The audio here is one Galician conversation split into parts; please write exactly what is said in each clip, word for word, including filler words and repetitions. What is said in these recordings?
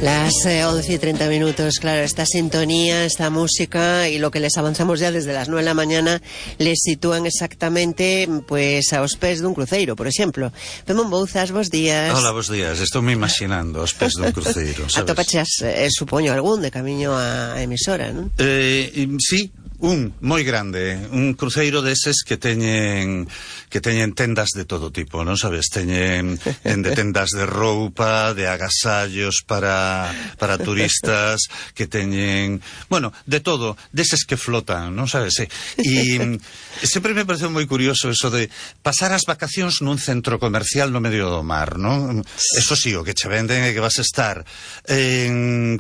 Las eh, once y treinta minutos, claro, esta sintonía, esta música y lo que les avanzamos ya desde las nueve de la mañana les sitúan exactamente pues aos pés dun cruceiro, por exemplo. Pemón Bouzas, bos días. Hola, bos días, estou me imaginando aos pés dun cruceiro, sabes? Atopachas, eh, supoño, algún de camiño á emisora, non? Eh, sí, un moi grande, un cruceiro deses que teñen que teñen tendas de todo tipo, non sabes? Teñen de tendas de roupa, de agasallos para para turistas, que teñen, bueno, de todo, deses que flotan, non sabes? E sempre me pareceu moi curioso eso de pasar as vacacións nun centro comercial no medio do mar, non? Eso sí, o que che venden é que vas a estar en,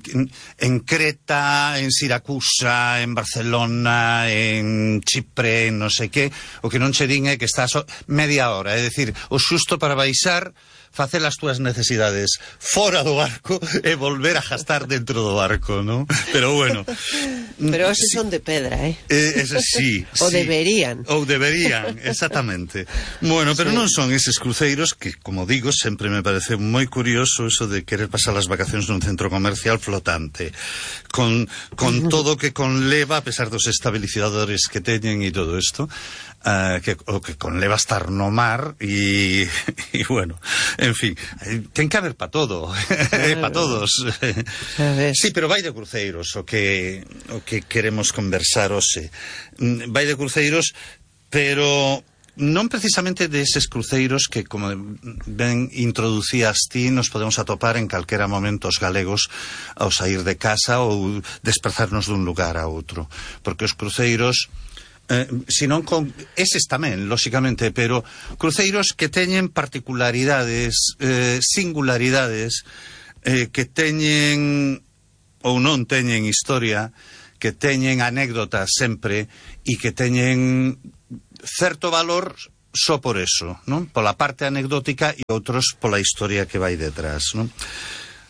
en Creta, en Siracusa, en Barcelona, en Chipre, en non sei que, o que non che din é que estás media hora, é dicir, o xusto para baixar, facer as túas necesidades fora do barco e volver a gastar dentro do barco, non? Pero bueno. Pero esos sí, son de pedra, eh? eh ese sí. O sí. deberían. Ou deberían, exactamente. Bueno, pero sí, non son eses cruceiros que, como digo, sempre me parece moi curioso eso de querer pasar as vacacións nun centro comercial flotante, con, con todo o que conleva, a pesar dos estabilizadores que teñen e todo isto, uh, que, o que conleva estar no mar e, e bueno, en fin, ten que haber para todo, para todos. Sí, pero vai de cruceiros o que o que queremos conversar hoxe. Vai de cruceiros, pero non precisamente deses cruceiros que, como ben introducías ti, nos podemos atopar en calquera momento os galegos ao sair de casa ou desplazarnos dun lugar a outro, porque os cruceiros Eh, senón con eses tamén, lóxicamente, pero cruceiros que teñen particularidades, eh, singularidades, eh, que teñen ou non teñen historia, que teñen anécdotas sempre e que teñen certo valor só por eso, non? Pola parte anecdótica e outros pola historia que vai detrás, non?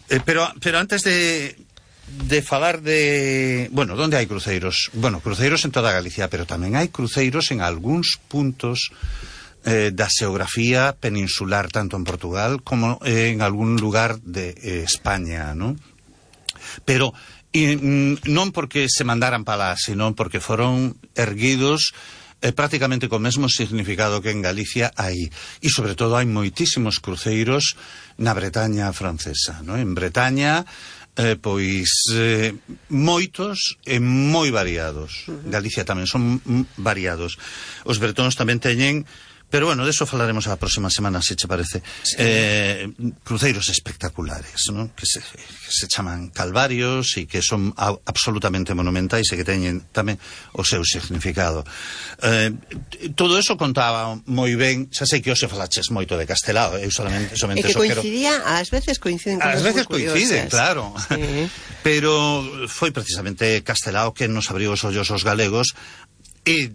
Eh, pero, pero antes de de falar de... Bueno, onde hai cruceiros? Bueno, cruceiros en toda Galicia, pero tamén hai cruceiros en algúns puntos eh, da xeografía peninsular, tanto en Portugal como eh, en algún lugar de eh, España, non? Pero e, non porque se mandaran para lá, sino porque foron erguidos eh, prácticamente co mesmo significado que en Galicia hai. E, sobre todo, hai moitísimos cruceiros na Bretaña francesa, non? En Bretaña... Eh, pois eh, moitos e moi variados. Galicia tamén son variados. Os bretóns tamén teñen, pero bueno, deso falaremos a próxima semana, se che parece. Sí. Eh, cruceiros espectaculares, ¿no? Que se, que se chaman calvarios e que son a, absolutamente monumentais e que teñen tamén o seu significado. Eh, todo eso contaba moi ben, xa sei que hoxe falaches moito de Castelao, eu solamente, solamente e que coincidía, quero... ás veces coinciden ás veces coinciden, claro. Sí. Pero foi precisamente Castelao que nos abriu os ollos aos galegos e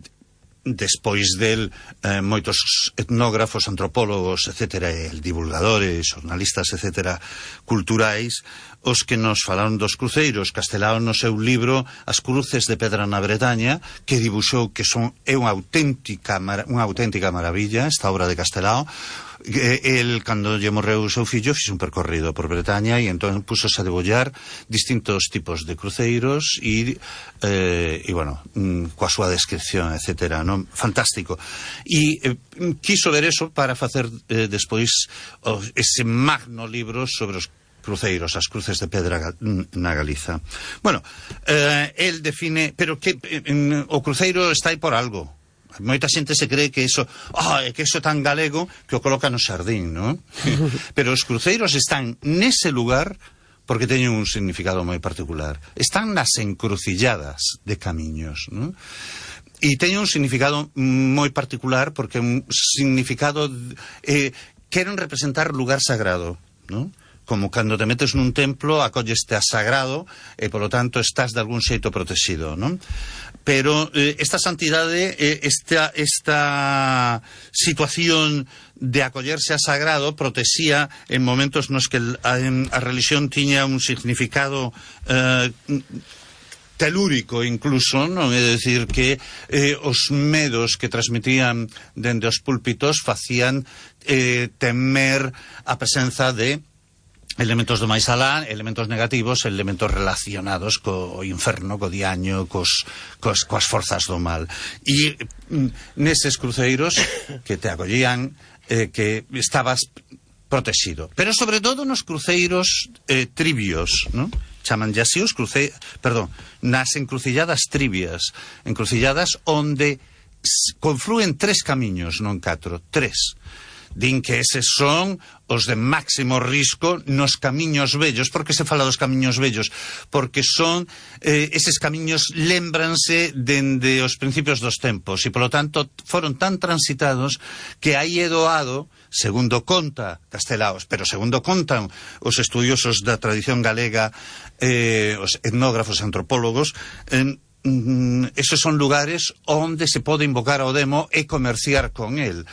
despois del eh, moitos etnógrafos, antropólogos, etcétera, e divulgadores, xornalistas, etcétera, culturais, os que nos falaron dos cruceiros. Castelao no seu libro As cruces de pedra na Bretaña, que dibuxou que son é unha auténtica unha auténtica maravilla esta obra de Castelao. El, cando lle morreu o seu fillo, fixe un percorrido por Bretaña e entón pusose a debullar distintos tipos de cruceiros e, eh, e bueno, coa súa descripción, etcétera, non? Fantástico. E eh, quiso ver eso para facer eh, despois oh, ese magno libro sobre os cruceiros, as cruces de pedra na Galiza. Bueno, eh, el define, pero que eh, o cruceiro está aí por algo. Moita xente se cree que eso, oh, que eso é tan galego que o coloca no xardín, non? Pero os cruceiros están nese lugar porque teñen un significado moi particular. Están nas encrucilladas de camiños, non? E teñen un significado moi particular porque un significado eh, queren representar lugar sagrado, non? Como cando te metes nun templo, acolleste a sagrado e, polo tanto, estás de algún xeito protegido, non? Pero eh, esta santidade, eh, esta, esta situación de acollerse a sagrado protexía en momentos nos que a, a religión tiña un significado eh, telúrico incluso, non? É dicir que eh, os medos que transmitían dende os púlpitos facían eh, temer a presenza de elementos do máis alá, elementos negativos, elementos relacionados co inferno, co diaño, cos, cos, coas forzas do mal. E mm, neses cruceiros que te acollían, eh, que estabas protegido. Pero sobre todo nos cruceiros eh, trivios, non? Chaman así os cruceiros, perdón, nas encrucilladas trivias, encrucilladas onde confluen tres camiños, non catro, tres. Din que eses son os de máximo risco nos camiños vellos. Por que se fala dos camiños vellos? Porque son, eh, eses camiños lémbranse dende os principios dos tempos e, polo tanto, foron tan transitados que aí é doado, segundo conta Castelaos, pero segundo contan os estudiosos da tradición galega, eh, os etnógrafos antropólogos, eh, esos son lugares onde se pode invocar ao demo e comerciar con el.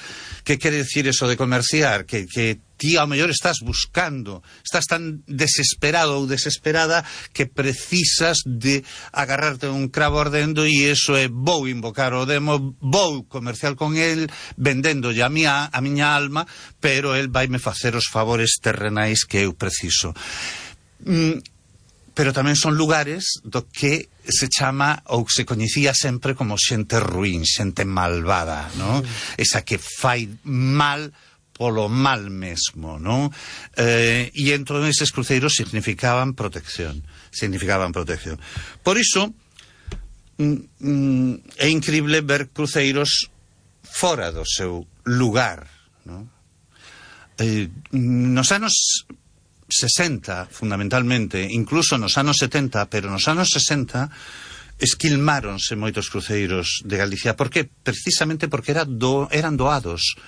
Que quere decir eso de comerciar? Que, que ti ao mellor estás buscando, estás tan desesperado ou desesperada que precisas de agarrarte un cravo ardendo e eso é vou invocar ao demo, vou comerciar con el vendéndolle a miña, a miña alma, pero el vaime facer os favores terrenais que eu preciso. Mm, pero tamén son lugares do que se chama ou se coñecía sempre como xente ruín, xente malvada, non? Esa que fai mal polo mal mesmo, non? Eh, e entón eses cruceiros significaban protección, significaban protección. Por iso mm, mm, é incrible ver cruceiros fora do seu lugar, non? Eh, nos anos sesenta, fundamentalmente, incluso nos anos setenta, pero nos anos sesenta esquilmáronse moitos cruceiros de Galicia. Por que? Precisamente porque era do, eran doados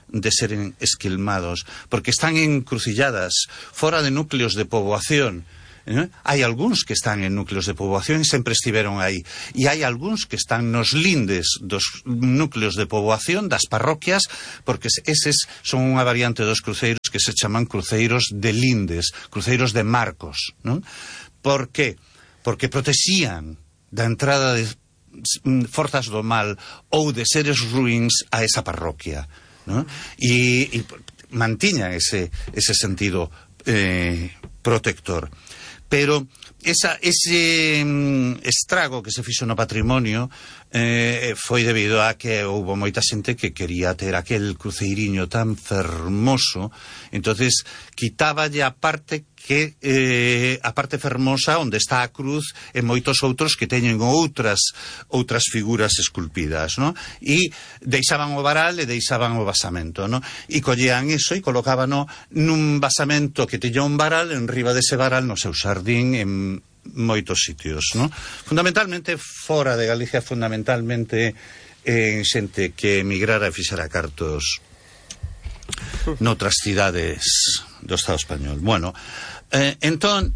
de seren esquilmados, porque están encrucilladas fora de núcleos de poboación. ¿Eh? Hai algúns que están en núcleos de poboación e sempre estiveron aí, e hai algúns que están nos lindes dos núcleos de poboación das parroquias, porque eses son unha variante dos cruceiros que se chaman cruceiros de lindes, cruceiros de marcos, non? Por que? Porque protexían da entrada de forzas do mal ou de seres ruíns a esa parroquia, non? E, e mantiñan ese, ese sentido eh, protector. Pero esa, ese mm, estrago que se fixo no patrimonio eh, foi debido a que houbo moita xente que quería ter aquel cruceiriño tan fermoso, entonces quitáballe a parte que eh, a parte fermosa onde está a cruz e moitos outros que teñen outras outras figuras esculpidas, ¿no? E deixaban o varal e deixaban o basamento, ¿no? E collían iso e colocábano nun basamento que tiña un varal enriba dese varal no seu xardín en moitos sitios, ¿no? Fundamentalmente fora de Galicia, fundamentalmente en xente que emigrara e fixera cartos noutras cidades do Estado español. Bueno, eh, entón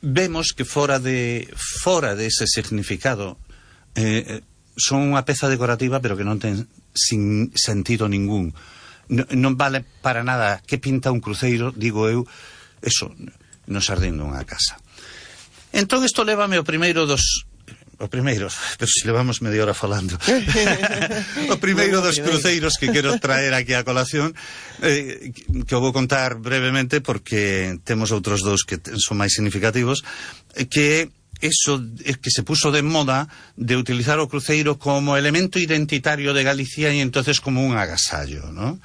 vemos que fora de fora de ese significado eh, son unha peza decorativa pero que non ten sin sentido ningún. No, non vale para nada que pinta un cruceiro, digo eu, eso, no xardín dunha casa. Entón isto lévame ao primeiro dos o primeiro, pero se levamos media hora falando o primeiro dos cruceiros que quero traer aquí a colación, eh, que o vou contar brevemente porque temos outros dous que son máis significativos, que eso que se puso de moda de utilizar o cruceiro como elemento identitario de Galicia e entonces como un agasallo, ¿no?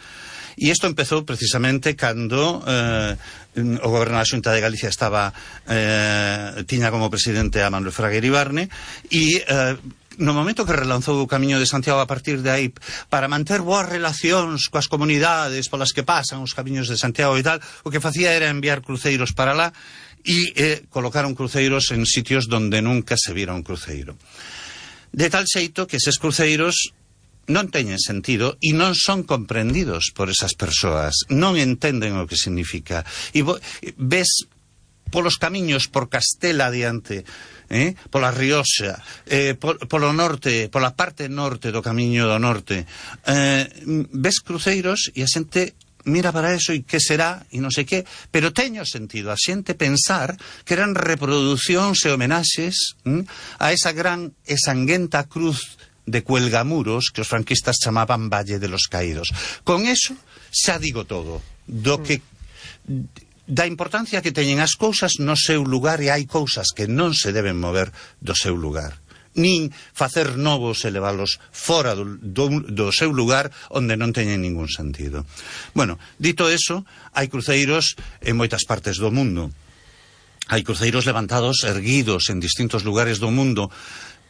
E isto empezou precisamente cando eh, o goberno da Xunta de Galicia estaba eh, tiña como presidente a Manuel Fraga Iribarne e eh, no momento que relanzou o Camiño de Santiago a partir de aí para manter boas relacións coas comunidades polas que pasan os camiños de Santiago e tal, o que facía era enviar cruceiros para lá e eh, colocaron cruceiros en sitios donde nunca se vira un cruceiro. De tal xeito que eses cruceiros non teñen sentido e non son comprendidos por esas persoas, non entenden o que significa. E ves polos camiños por Castela adiante, eh, pola Rioxa, eh, pol, polo norte, pola parte norte do Camiño do Norte, eh, ves cruceiros e a xente mira para eso e que será e non sei que, pero teño sentido a xente pensar que eran reproducións e homenaxes hm, a esa gran e sanguenta cruz de Cuelgamuros que os franquistas chamaban Valle de los Caídos. Con eso xa digo todo do que da importancia que teñen as cousas no seu lugar, e hai cousas que non se deben mover do seu lugar, nin facer novos e leválos fora do, do, do seu lugar onde non teñen ningún sentido. Bueno, dito eso, hai cruceiros en moitas partes do mundo. Hai cruceiros levantados, erguidos en distintos lugares do mundo,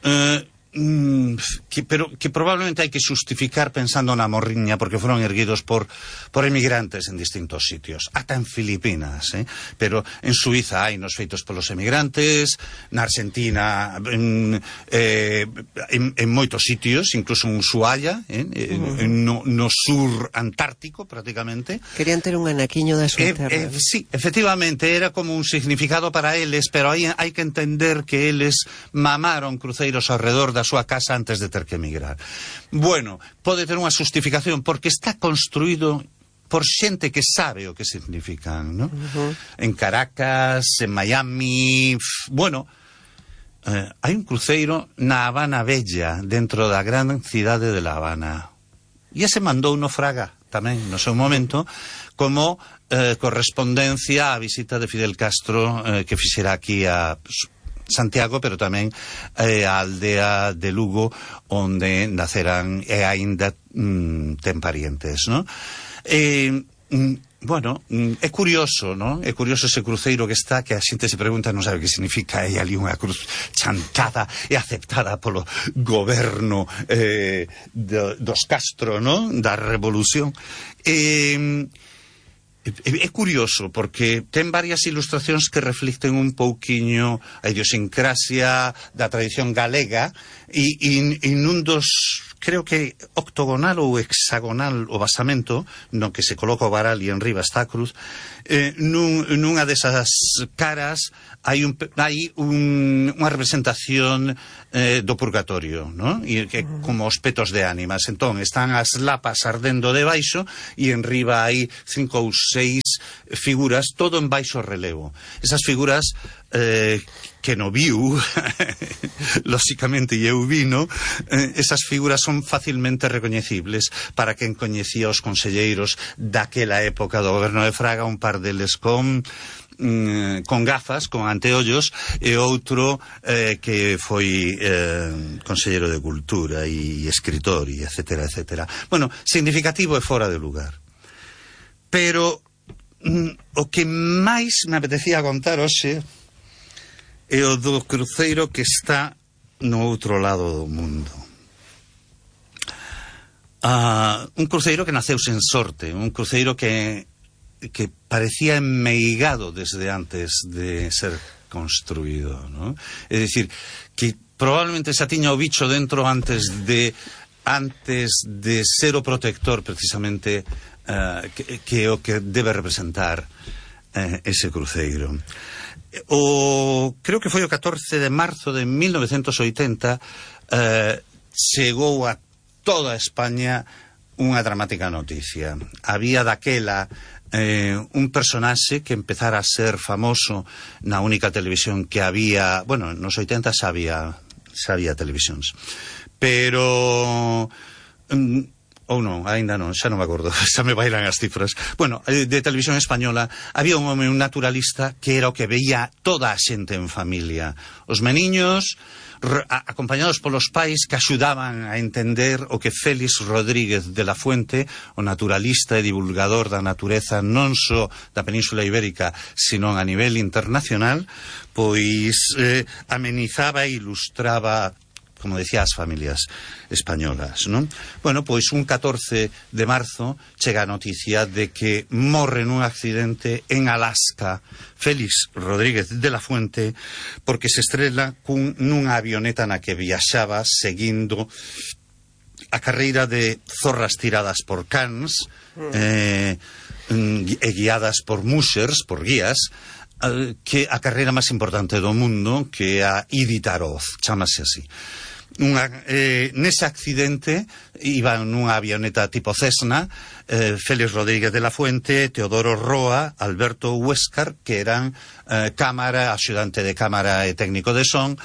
eh, Que, pero que probablemente hai que justificar pensando na morriña, porque foron erguidos por, por emigrantes en distintos sitios, ata en Filipinas, eh? Pero en Suiza hai nos feitos polos emigrantes, na Argentina, en, eh, en, en moitos sitios, incluso en Ushuaia, eh? en, en, no, no sur antártico, prácticamente. Querían ter un anaquiño da súa terra. Eh, eh, sí, efectivamente, era como un significado para eles, pero hai, hai que entender que eles mamaron cruceiros ao redor da súa casa antes de ter que emigrar. Bueno, pode ter unha justificación porque está construído por xente que sabe o que significan, ¿no? Uh-huh. En Caracas, en Miami, bueno, eh, hai un cruceiro na Habana Bella, dentro da gran cidade de La Habana. E ese mandou no Fraga tamén, no seu momento, como eh, correspondencia á visita de Fidel Castro eh, que fixera aquí a Santiago, pero tamén eh, a aldea de Lugo, onde naceran e aínda mm, ten parientes, ¿no? Eh, mm, bueno, mm, é curioso, ¿no? É curioso ese cruceiro que está, que a xente se pregunta, non sabe que significa, hai ali unha cruz chantada e aceptada polo goberno eh, de, dos Castro, ¿no? Da revolución. Eh, É curioso, porque ten varias ilustracións que reflicten un pouquiño a idiosincrasia da tradición galega, e, e, e nun dos, creo que octogonal ou hexagonal o basamento, no que se coloca o varal e en riba está a cruz, eh, nun, nunha desas caras hai, un, hai un, unha representación eh, do purgatorio, ¿no? E que como os petos de ánimas. Entón, están as lapas ardendo debaixo e en riba hai cinco ou seis figuras, todo en baixo relevo. Esas figuras eh, que no viu, lóxicamente eu vino, eh, esas figuras son facilmente recoñecibles para quen coñecía os conselleiros daquela época do goberno de Fraga, un par deles con con gafas, con anteollos, e outro eh, que foi eh, conselleiro de Cultura e escritor, e etcétera, etcétera. Bueno, significativo e fora de lugar. Pero mm, o que máis me apetecía contar hoxe é o do cruceiro que está no outro lado do mundo. Uh, un cruceiro que naceu sen sorte, un cruceiro que que parecía enmeigado desde antes de ser construído, ¿no? É dicir, que probablemente xa tiña o bicho dentro antes de antes de ser o protector, precisamente, uh, que, que o que debe representar uh, ese cruceiro. O, creo que foi o catorce de marzo de mil novecentos oitenta, uh, chegou a toda España unha dramática noticia. Había daquela Eh, un personaxe que empezara a ser famoso na única televisión que había, bueno, nos oitenta xa había, xa había televisións, pero um, ou non, aínda non, xa non me acordo, xa me bailan as cifras. Bueno, de televisión española había un home, un naturalista, que era o que veía toda a xente en familia, os meniños acompañados polos pais, que axudaban a entender o que Félix Rodríguez de la Fuente, o naturalista e divulgador da natureza non só da Península Ibérica, sino a nivel internacional, pois eh, amenizaba e ilustraba, como decía, as familias españolas, non? Bueno, pois un catorce de marzo chega a noticia de que morre nun accidente en Alaska Félix Rodríguez de la Fuente, porque se estrela cun, nunha avioneta na que viaxaba seguindo a carreira de zorras tiradas por cans eh, e guiadas por mushers, por guías, que a carreira máis importante do mundo, que é a Iditarod, chamase así. Unha, eh, nese accidente iban nunha avioneta tipo Cessna, eh, Félix Rodríguez de la Fuente, Teodoro Roa, Alberto Huéscar, que eran eh, cámara, axudante de cámara e técnico de son,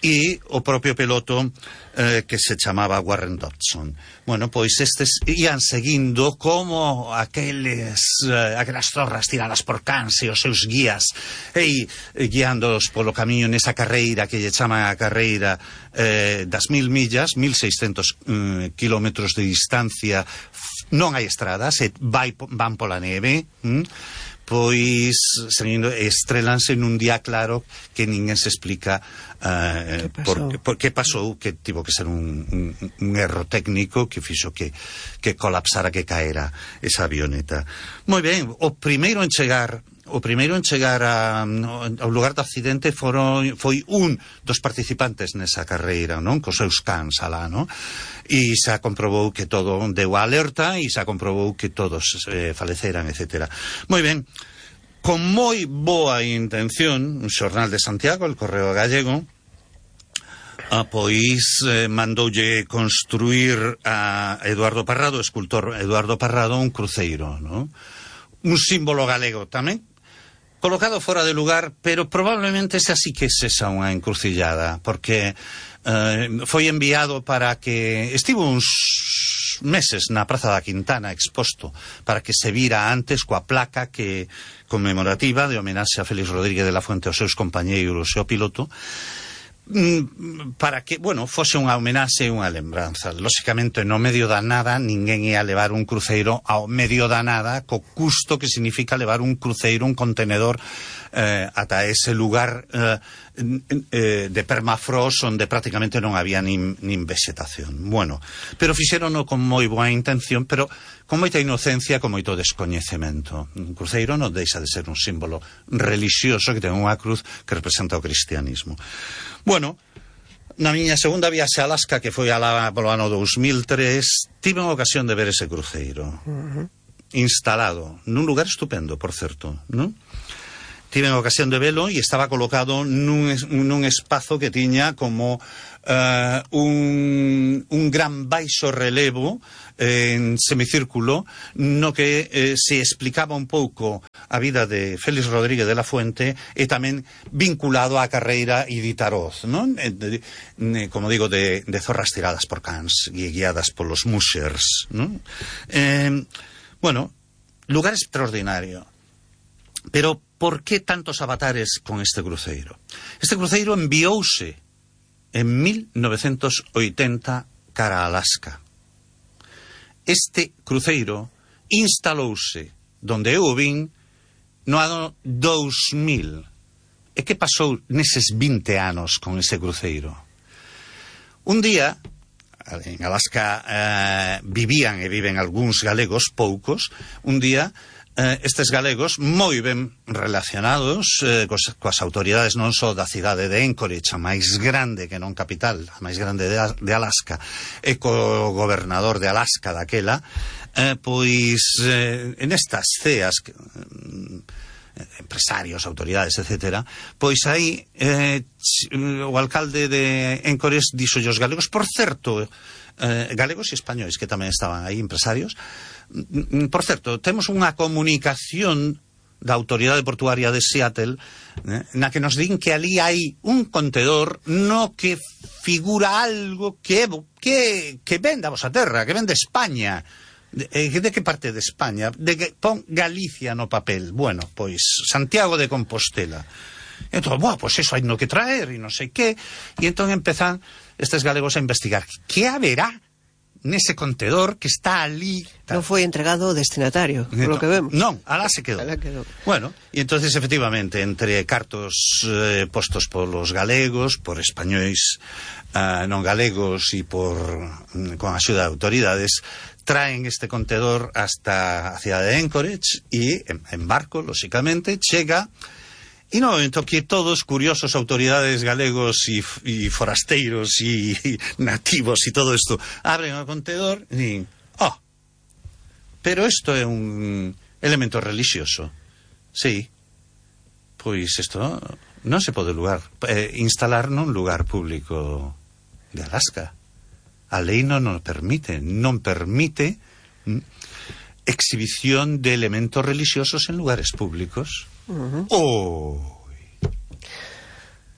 e o propio piloto eh, que se chamaba Warren Dodson. Bueno, pois estes ian seguindo como aqueles, eh, aquelas zorras tiradas por cans e os seus guías e eh, guiándoos polo camiño nesa carreira que lle chaman a carreira eh, das mil millas, mil seiscentos eh, kilómetros de distancia. Non hai estradas, e vai, van pola neve, hm? Pois seguindo, estrelanse nun día claro que ninguén se explica uh, por, por que pasou, que tivo que ser un, un, un erro técnico que fixo que, que colapsara, que caera esa avioneta. Moi ben, o primeiro en chegar o primeiro en chegar a, ao lugar do accidente foron, foi un dos participantes nesa carreira, non? Cos seus cans alá, non? E se comprobou que todo deu a alerta e se comprobou que todos eh, faleceran, etcétera. Moi ben, con moi boa intención, un xornal de Santiago, el Correo Gallego, ah, pois eh, mandoulle construir a Eduardo Parrado, o escultor Eduardo Parrado, un cruceiro, non? Un símbolo galego tamén, colocado fora de lugar, pero probablemente esa sí que es esa unha encrucillada, porque eh, foi enviado para que estivo uns meses na Praza da Quintana exposto, para que se vira antes coa placa que conmemorativa de homenaxe a Félix Rodríguez de la Fuente, aos seus compañeiros e ao piloto, para que, bueno, fose unha homenaxe e unha lembranza. Lóxicamente, no medio da nada, ninguén ia levar un cruceiro ao medio da nada, co custo que significa levar un cruceiro, un contenedor, eh, ata ese lugar eh, eh, de permafrost onde prácticamente non había nin, nin vegetación. Bueno, pero fixérono con moi boa intención, pero con moita inocencia, con moito descoñecemento. Un cruceiro non deixa de ser un símbolo relixioso que ten unha cruz que representa o cristianismo. Bueno, na miña segunda viaxe a Alaska, que foi alá polo ano dous mil tres, tive a ocasión de ver ese cruceiro. Uh-huh. Instalado nun lugar estupendo, por certo, non? Tive a ocasión de velo e estaba colocado nun, nun espazo que tiña como uh, un, un gran baixo relevo eh, en semicírculo, no que eh, se explicaba un pouco a vida de Félix Rodríguez de la Fuente e tamén vinculado á carreira e de Taroz, non? Eh, de, de, como digo, de, de zorras tiradas por cans e guiadas polos mushers, non? Eh, bueno, lugar extraordinario. Pero por que tantos avatares con este cruceiro? Este cruceiro enviouse en mil novecientos oitenta cara a Alaska. Este cruceiro instalouse donde eu vin no ano dous mil. E que pasou neses vinte anos con ese cruceiro? Un día, en Alaska eh, vivían e viven algúns galegos, poucos, un día Eh, estes galegos moi ben relacionados eh, cos, coas autoridades non só da cidade de Anchorage, a máis grande que non capital, a máis grande de, de Alaska, e co gobernador de Alaska daquela, eh, pois eh, en estas ceas que, eh, empresarios, autoridades, etcétera, pois aí eh, o alcalde de Anchorage dixo os galegos, por certo, eh, galegos e españois que tamén estaban aí, empresarios. Por certo, temos unha comunicación da Autoridade Portuaria de Seattle eh, na que nos din que ali hai un contedor no que figura algo que que, que ven da vosa terra, que ven de España. De, de que parte de España? De que pon Galicia no papel. Bueno, pois Santiago de Compostela. E entón, bueno, pois eso hai no que traer e non sei que. E entón empezan estes galegos a investigar que haberá nese contedor que está ali. Non foi entregado ao destinatario, por lo que vemos. Non, alá se quedou. Alá quedou. Bueno, e entonces efectivamente, entre cartos eh, postos polos galegos, por españois uh, non galegos e por con a axuda de autoridades, traen este contedor hasta a cidade de Anchorage e en, en barco, lóxicamente, chega. E no momento que todos, curiosos, autoridades galegos e, e forasteiros e, e nativos e todo isto, abren o contenedor e din, oh, pero isto é un elemento religioso. Sí, pois isto non se pode lugar, eh, instalar nun lugar público de Alaska. A lei non o permite, non permite mm, exhibición de elementos religiosos en lugares públicos. Uh-huh. Oh.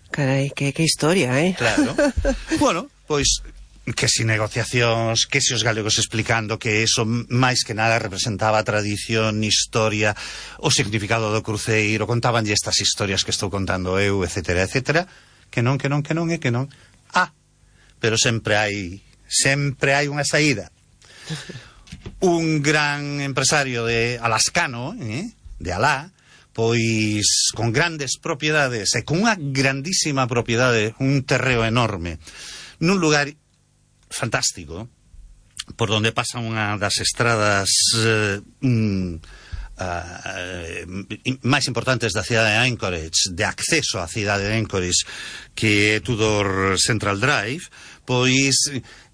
Carai, que, que historia, eh? Claro. Bueno, pois que si negociacións, que si os galegos explicando que eso máis que nada representaba a tradición, historia, o significado do cruceiro, contabanlle estas historias que estou contando eu, etcétera, etcétera, que non, que non, que non, e que non. Ah, pero sempre hai, sempre hai unha saída. Un gran empresario de alascano, eh, de Alá, pois con grandes propiedades e con unha grandísima propiedade, un terreo enorme, nun lugar fantástico, por donde pasa unha das estradas eh, mm, uh, máis importantes da cidade de Anchorage, de acceso á cidade de Anchorage, que é Tudor Central Drive, pois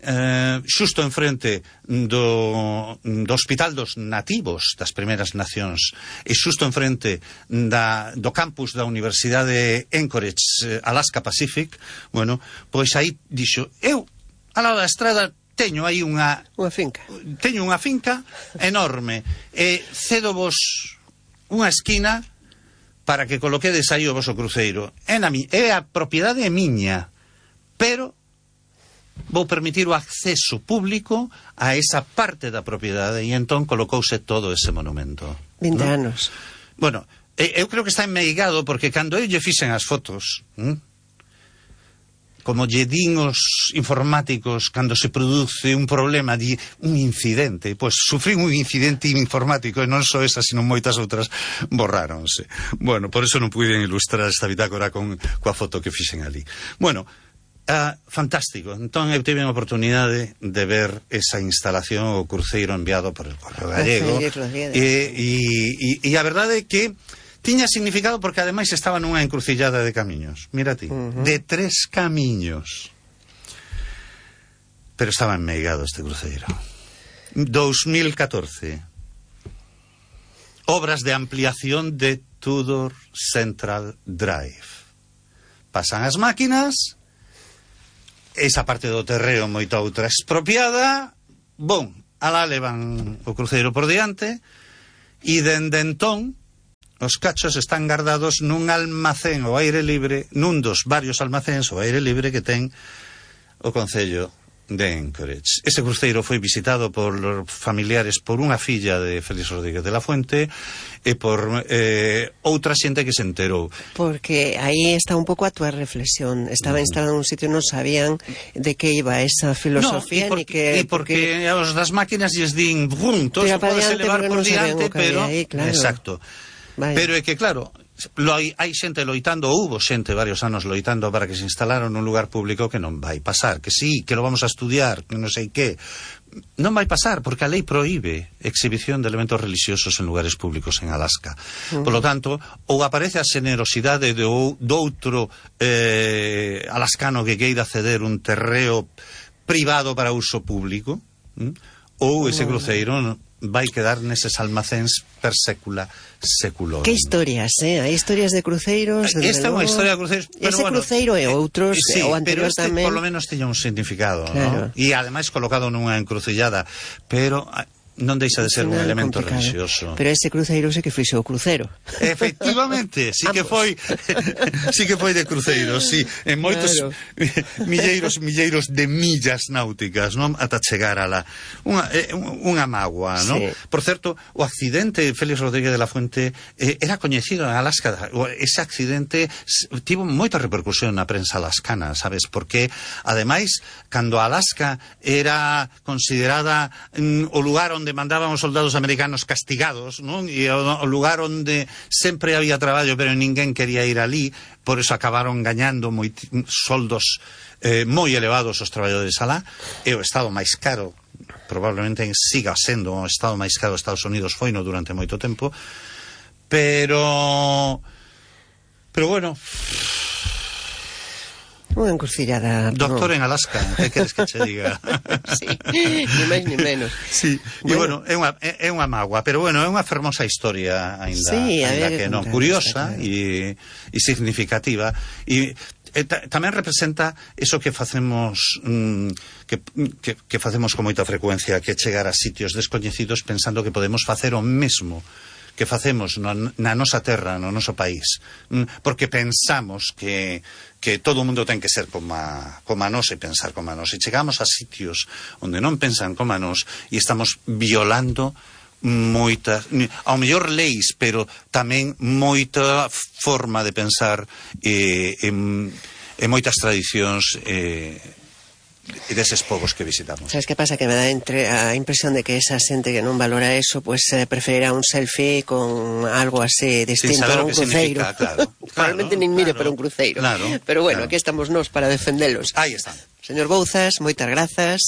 eh, xusto enfrente do, do Hospital dos Nativos das Primeiras Nacións e xusto enfrente da, do campus da Universidade de Anchorage, Alaska Pacific, bueno, pois aí dixo, eu ao lado da estrada teño aí unha unha finca. Teño unha finca enorme e cedo vos unha esquina para que coloquedes aí o voso cruceiro. É, na mi, é a propiedade é miña, pero vou permitir o acceso público a esa parte da propiedade e entón colocouse todo ese monumento. vinte ¿no? anos. Bueno, eu creo que está enmeigado porque cando eu lle fixen as fotos, ¿eh? como lle din os informáticos cando se produce un problema, di un incidente, pois sufrín un incidente informático e non só esa, sino moitas outras borráronse. Bueno, por eso non puiden ilustrar esta bitácora con coa foto que fixen ali. Bueno, uh, fantástico. Entón eu tive a oportunidade de ver esa instalación, o cruceiro enviado por el Correo Gallego, e, e, e a verdade é que tiña significado porque ademais estaba nunha encrucillada de camiños. Mira ti, uh-huh. de tres camiños. Pero estaba enmeigado este cruceiro. dos mil catorce. Obras de ampliación de Tudor Central Drive. Pasan as máquinas, esa parte do terreo moita outra expropiada, bom, alá levan o cruceiro por diante, e dende entón os cachos están guardados nun almacén ao aire libre, nun dos varios almacéns ao aire libre que ten o Concello de Anchorage. Ese cruceiro foi visitado por familiares por unha filla de Félix Rodríguez de la Fuente e por eh, outra xente que se enterou. Porque aí está un pouco a túa reflexión. Estaba mm. instalado en un sitio, non sabían de que iba esa filosofía, no, ni que... E porque, porque os das máquinas lles din, brum, todo se pode elevar por diante, pero... Aí, claro. Exacto. Vaya. Pero é que, claro, lo hai, hai xente loitando, houbo xente varios anos loitando para que se instalaron nun lugar público que non vai pasar, que sí, que lo vamos a estudiar, que non sei que. Non vai pasar, porque a lei proíbe exhibición de elementos religiosos en lugares públicos en Alaska. Uh-huh. Por lo tanto, ou aparece a xenerosidade do, do outro eh, alascano que queira ceder un terreo privado para uso público, ¿eh? ou ese cruceiro vai quedar neses almacéns per sécula seculorum. Que historias, eh? Hai historias de cruceiros. Esta é unha historia de cruceiros. Ese bueno, cruceiro e outros, sí, o anterior pero este tamén. Por lo menos tiña un significado, claro. ¿no? E ademais colocado nunha encrucillada, pero non deixa de ser un elemento complicado. Religioso. Pero ese cruceiro sí que fixo o cruceiro. Efectivamente, sí que foi sí que foi de cruceiro, sí, en moitos claro. milleiros milleiros de millas náuticas, non, ata chegar a la unha unha mágoa, non? Sí. Por certo, o accidente Félix Rodríguez de la Fuente eh, era coñecido en Alaska. Ese accidente tivo moita repercusión na prensa alascana, sabes? Porque ademais, cando Alaska era considerada mm, o lugar onde onde mandaban os soldados americanos castigados, non? E o, o lugar onde sempre había traballo, pero ninguén quería ir ali, por eso acabaron gañando moi, soldos eh, moi elevados os traballadores alá, e o estado máis caro, probablemente siga sendo o estado máis caro de Estados Unidos, foino durante moito tempo, pero pero bueno, unha encrucillada. Doctor no. en Alaska, que queres que che diga? Sí, ni máis ni menos. Sí, e bueno, é unha, é unha mágoa, pero bueno, é unha fermosa historia ainda, sí, ainda que non, curiosa e, e significativa. E e ta, tamén representa eso que facemos mm, que, que, que facemos con moita frecuencia, que chegar a sitios descoñecidos pensando que podemos facer o mesmo que facemos na, na nosa terra, no noso país, mm, porque pensamos que que todo o mundo ten que ser como a, como a nós e pensar como a nós. E chegamos a sitios onde non pensan como a nós e estamos violando moitas, ao mellor leis, pero tamén moita forma de pensar e, e, e moitas tradicións e, e deses povos que visitamos. Sabes que pasa? Que me dá entre a impresión de que esa xente que non valora eso, pues eh, preferirá un selfie con algo así distinto a un cruceiro. Claro, Probablemente claro, nin mire claro, para un cruceiro. Claro, pero bueno, claro. aquí estamos nós para defendelos. Aí están. Señor Bouzas, moitas grazas.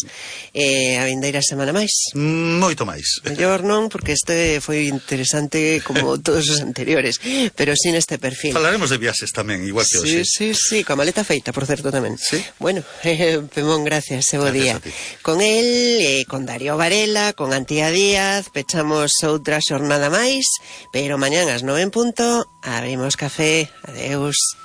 E a vindeira semana máis. Moito máis. Mellor non, porque este foi interesante como todos os anteriores, pero sin este perfil. Falaremos de viaxes tamén, igual que hoxe. Sí, sí, sí, coa maleta feita, por certo, tamén. Sí. Bueno, eh, Pemón, gracias, e bo día. Con el, eh, con Darío Varela, con Antía Díaz, pechamos outra xornada máis, pero mañán ás nove en punto, abrimos café. Adeus.